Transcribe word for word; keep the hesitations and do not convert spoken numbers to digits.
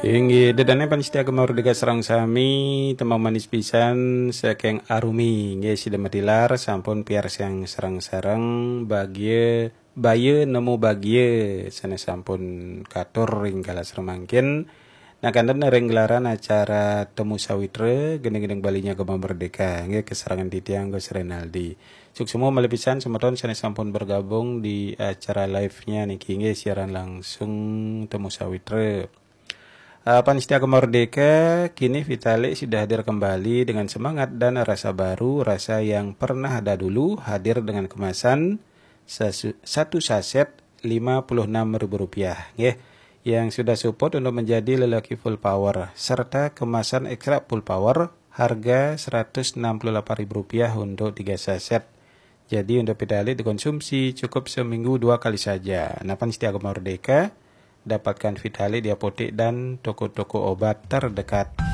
Inggih, dedane pamiarsa Gema Merdeka sareng sami, tembang manis pisan saking Arumi. Inggih, sida matilar sampun piarsang sareng-sareng bagia baya nemu bagia sane sampun katur ring galah semangkin. Nah, kanten ring gelaran acara Temu Sawitra, gending-gending Balinya Gema Merdeka. Inggih, kesarengan titiang Gus Renaldi. Suksma malih pisan semeton sane sampun bergabung di acara live-nya niki, inggih, siaran langsung Temu Sawitra. Uh, pamiarsa Gema Merdeka, kini Vitalik sudah hadir kembali dengan semangat dan rasa baru, rasa yang pernah ada dulu, hadir dengan kemasan sasu- satu saset lima puluh enam ribu rupiah, nggih, yang sudah support untuk menjadi lelaki full power, serta kemasan ekstra full power harga seratus enam puluh delapan ribu rupiah untuk tiga saset. Jadi, untuk Vitalik dikonsumsi cukup seminggu dua kali saja. Nah, pamiarsa Gema Merdeka, dapatkan Vitalik di apotek dan toko-toko obat terdekat.